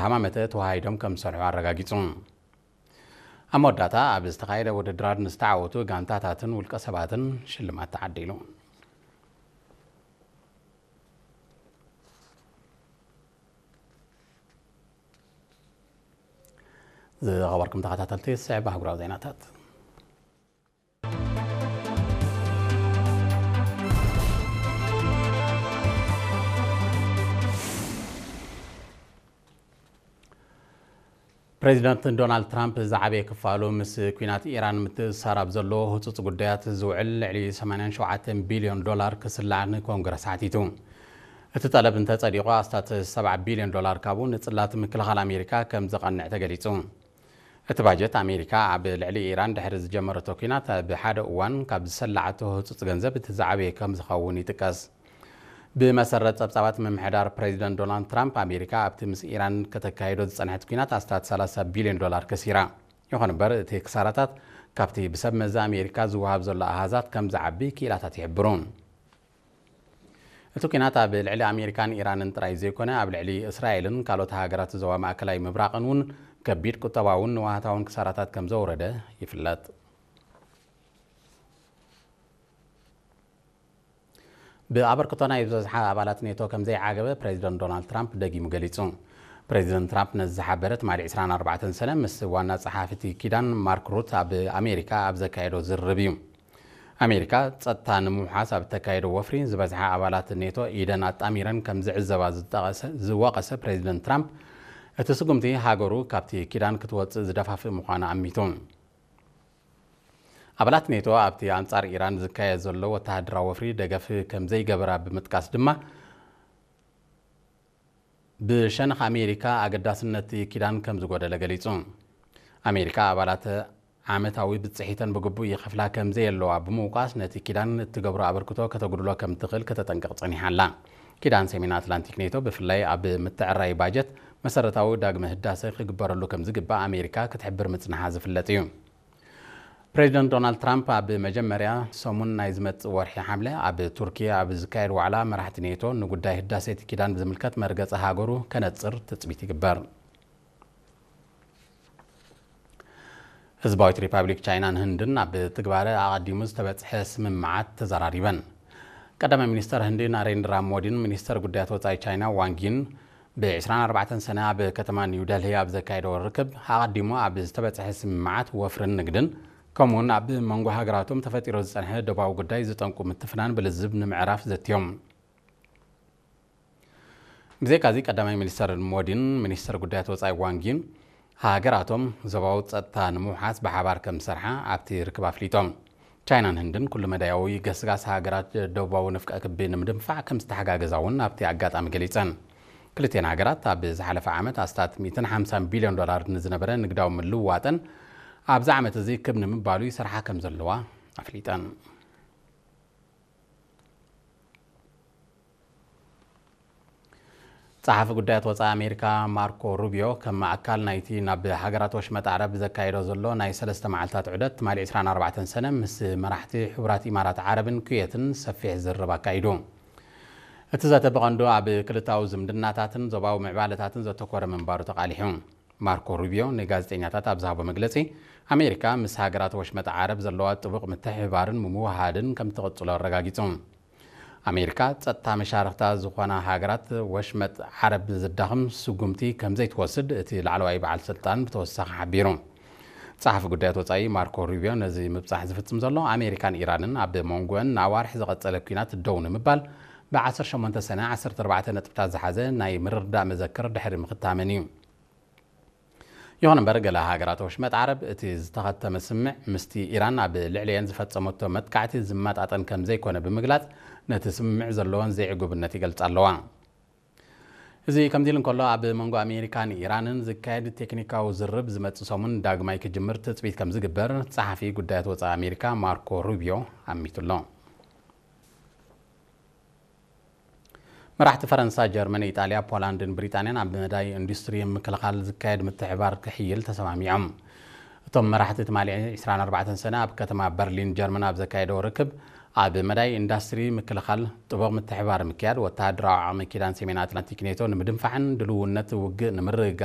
ሃማመተ ተዋሃሂዶም ከም ዝሰርሑ ኣረጋጊጹ። ኣብ መወዳእታ ኣብ ዝተኻየደ ውድድራት ንዝተዓወቱ ጋንታታትን ውልቀ ሰባትን ሽልማት ተዓዲሉ። ዝኸበርኩም ተኸታተልቲ፣ ዝስዕብ ኣህጉራዊ ዜናታት። ፕሬዚደንት ዶናልድ ትራምፕ ዝዓበየ ክፋሉ ምስ ኲናት ኢራን ምትእስሳር ኣብ ዘለዎ ህጹጽ ጉዳያት ዝውዕል ልዕሊ ሰማንያን ሸውዓተን ቢልዮን ዶላር ክስላዕ ንኮንግረስ ሓቲቱ። እቲ ጠለብ እንተጸዲቑ ኣስታት ሰብዓ ቢልዮን ዶላር ካብኡ ንጽላት ምክልኻል ኣሜሪካ ከም ዘቐንዕ ተገሊጹ። እቲ ባጀት ኣሜሪካ ኣብ ልዕሊ ኢራን ድሕሪ ዝጀመረቶ ኲናት ኣብ ሓደ እዋን ካብ ዝሰላዓቶ ህጹጽ ገንዘብ እቲ ዝዓበየ ከም ዝኸውን ይጥቀስ። ብመሰረት ጸብጻባት ምምሕዳር ፕሬዚደንት ዶናልድ ትራምፕ ኣሜሪካ ኣብቲ ምስ ኢራን ከተካይዶ ዝጸንሐት ኲናት ኣስታት ሰላሳ ቢልዮን ዶላር ከሲራ። ይኹን እምበር እቲ ክሳራታት ካብቲ ብሰብ መዚ ኣሜሪካ ዝወሃብ ዘሎ ኣሃዛት ከም ዝዓቢ ክኢላታት ይሕብሩ። እቲ ኲናት ኣብ ልዕሊ ኣሜሪካን ኢራንን ጥራይ ዘይኮነ ኣብ ልዕሊ እስራኤልን ካልኦት ሃገራት ዞባ ማእከላይ ምብራቕን እውን ከቢድ ቁጠባውን ንዋህታውን ክሳራታት ከም ዘውረደ ይፍለጥ። ብኣበርክቶ ናይ ዝበዝሓ ኣባላት ኔቶ ከም ዘይዓገበ ፕሬዚደንት ዶናልድ ትራምፕ ደጊሙ ገሊጹ። ፕሬዚደንት ትራምፕ ነዚ ዝሓበረ ትማሊ ዕስራን ኣርባዕተን ሰነ ምስ ዋና ጸሓፊ እቲ ኪዳን ማርክ ሩት ኣብ ኣሜሪካ ኣብ ዘካየዶ ዝርርብ እዩ። ኣሜሪካ ጸጥታ ንምውሓስ ኣብ እተካየዶ ወፍሪ ዝበዝሓ ኣባላት ኔቶ ኢደን ኣጣሚረን ከም ዝዕዘባ ዝጠቐሰ ዝወቐሰ ፕሬዚደንት ትራምፕ እቲ ስጉምቲ ሃገሩ ካብቲ ኪዳን ክትወጽእ ዝደፋፍእ ምዃኑ ኣሚቱ። ኣባላት ኔቶ ኣብቲ ኣንጻር ኢራን ዝካየድ ዘሎ ወተሃደራዊ ወፍሪ ደገፍ ከም ዘይገበራ ብምጥቃስ ድማ ብሸነኽ ኣሜሪካ ኣገዳስነት እቲ ኪዳን ከም ዝጎደለ ገሊጹ። ኣሜሪካ ኣባላት ዓመታዊ ብጽሒተን ብግቡእ ይኸፍላ ከም ዘየለዋ ብምውቃስ ነቲ ኪዳን እትገብሮ ኣበርክቶ ከተጉድሎ ከም ትኽእል ከተጠንቅቕ ጸኒሓ ኣላ። ኪዳን ሰሜን ኣትላንቲክ ኔቶ ብፍላይ ኣብ ምትዕራይ ባጀት መሰረታዊ ዳግመ ህዳሰ ክግበረሉ ከም ዝግባእ ኣሜሪካ ክትሕብር ምጽንሓ ዝፍለጥ እዩ። ፕሬዚደንት ዶናልድ ትራምፕ ኣብ መጀመርያ ሰሙን ናይ ዝመጽእ ወርሒ ሓምለ ኣብ ቱርኪ ኣብ ዝካየድ ዋዕላ መራሕቲ ኔቶ ንጉዳይ ህዳሴ እቲ ኪዳን ብዝምልከት መርገጺ ሃገሩ ከነጽር ትጽቢት ይግበር። ህዝባዊት ሪፓብሊክ ቻይናን ህንድን ኣብ ትግባረ ኣቐዲሙ ዝተበጽሐ ስምምዓት ተዘራሪበን። ቀዳማይ ሚኒስተር ህንዲ ናሬንድራ ሞዲን ሚኒስተር ጉዳያት ወጻኢ ቻይና ዋንጊን ብ ዕስራን ኣርባዕተን ሰነ ኣብ ከተማ ኒው ደልሂ ኣብ ዘካየደዎ ርክብ ኣቐዲሙ ኣብ ዝተበጽሐ ስምምዓት ወፍርን ንግድን ከምኡውን ኣብ መንጎ ሃገራቶም ተፈጢሩ ዝጸንሐ ዶባዊ ጉዳይ ዝጠንቁ ምትፍናን ብልዝብ ንምዕራፍ ዘትዮም። ብዘይካዚ ቀዳማይ ሚኒስተር ሞዲን ሚኒስተር ጉዳያት ወጻኢ ዋንጊን ሃገራቶም ዞባዊ ጸጥታ ንምውሓስ ብሓባር ከም ዝሰርሓ ኣብቲ ርክብ ኣፍሊጦም። ቻይናን ህንድን ኩሉ መዳያዊ ገስጋስ ሃገራት ደቡባዊ ንፍቀ ክቢ ንምድንፋዕ ከም ዝተሓጋገዛ እውን ኣብቲ ኣጋጣሚ ገሊጸን። ክልቲኤን ሃገራት ኣብ ዝሓለፈ ዓመት ኣስታት ሚእትን ሓምሳን ቢልዮን ዶላር ንዝነበረ ንግዳዊ ምልውዋጠን ኣብዚ ዓመት እዚ ክብ ንምባሉ ይሰርሓ ከም ዘለዋ ኣፍሊጠን። ጸሓፊ ጉዳያት ወጻኢ ኣሜሪካ ማርኮ ሩቢዮ ከም ኣካል ናይቲ ናብ ሃገራት ወሽመጥ ዓረብ ዘካየዶ ዘሎ ናይ ሰለስተ መዓልታት ዑደት ትማሊ ዕስራን ኣርባዕተን ሰነ ምስ መራሕቲ ሕቡራት ኢማራት ዓረብን ኩዌትን ሰፊሕ ዝርርብ ኣካይዱ። እቲ ዘተ ብቐንዱ ኣብ ክልታዊ ዝምድናታትን ዞባዊ ምዕባለታትን ዘተኮረ ምንባሩ ተቓሊሑ። ማርኮ ሩቢዮ ንጋዜጠኛታት ኣብ ዝሃቦ መግለጺ ኣሜሪካ ምስ ሃገራት ወሽመጥ ዓረብ ዘለዋ ጥቡቕ ምትሕብባርን ምውህሃድን ከም ትቕጽሎ ኣረጋጊጹ። ኣሜሪካ ጸጥታ መሻርኽታ ዝኾና ሃገራት ወሽመጥ ዓረብ ዘዳኽም ስጉምቲ ከም ዘይትወስድ እቲ ላዕለዋይ በዓል ስልጣን ብተወሳኺ ሓቢሩ። ጸሓፊ ጉዳያት ወጻኢ ማርኮ ሩቢዮ ነዚ ምብጻሕ ዝፍጽም ዘሎ ኣሜሪካን ኢራንን ኣብ መንጎአን ንኣዋርሕ ዝቐጸለ ኲናት ደው ንምባል ብ ዓሰርተ ሸሞንተ ሰነ ዓሰርተ ኣርባዕተ ነጥብታት ዝሓዘ ናይ ምርድዳእ መዘክር ድሕሪ ምኽታመን እዩ። ይኹን እምበር ገለ ሃገራት ወሽመጥ ዓረብ እቲ ዝተኸተመ ስምምዕ ምስቲ ኢራን ኣብ ልዕሊኤን ዝፈጸመቶ መጥቃዕቲ ዝመጣጠን ከም ዘይኮነ ብምግላጽ ነቲ ስምምዕ ዘለወን ዘይዕጉብነት ይገልጻ ኣለዋ። እዚ ከምዚ ኢሉ እንከሎ ኣብ መንጎ ኣሜሪካን ኢራንን ዝካየድ ቴክኒካዊ ዝርርብ ዝመጽእ ሰሙን ዳግማይ ክጅምር ትጽቢት ከም ዝግበር ጸሓፊ ጉዳያት ወጻኢ ኣሜሪካ ማርኮ ሩቢዮ ኣሚቱ ኣሎ። መራሕቲ ፈረንሳ፣ ጀርመን፣ ኢጣልያ፣ ፖላንድን ብሪጣንያን ኣብ መዳይ ኢንዱስትሪ ምክልኻል ዝካየድ ምትሕባር ክሕይል ተሰማሚዖም። እቶም መራሕቲ ትማሊ ዕስራን ኣርባዕተን ሰነ ኣብ ከተማ በርሊን ጀርመን ኣብ ዘካየደዎ ርክብ ኣብ መዳይ ኢንዱስትሪ ምክልኻል ጥቡቕ ምትሕባር ምክያድ ወተሃደራዊ ዓቕሚ ኪዳን ሰሜን ኣትላንቲክ ኔቶ ንምድንፋዕን ድልውነት ውግእ ንምርግጋጽ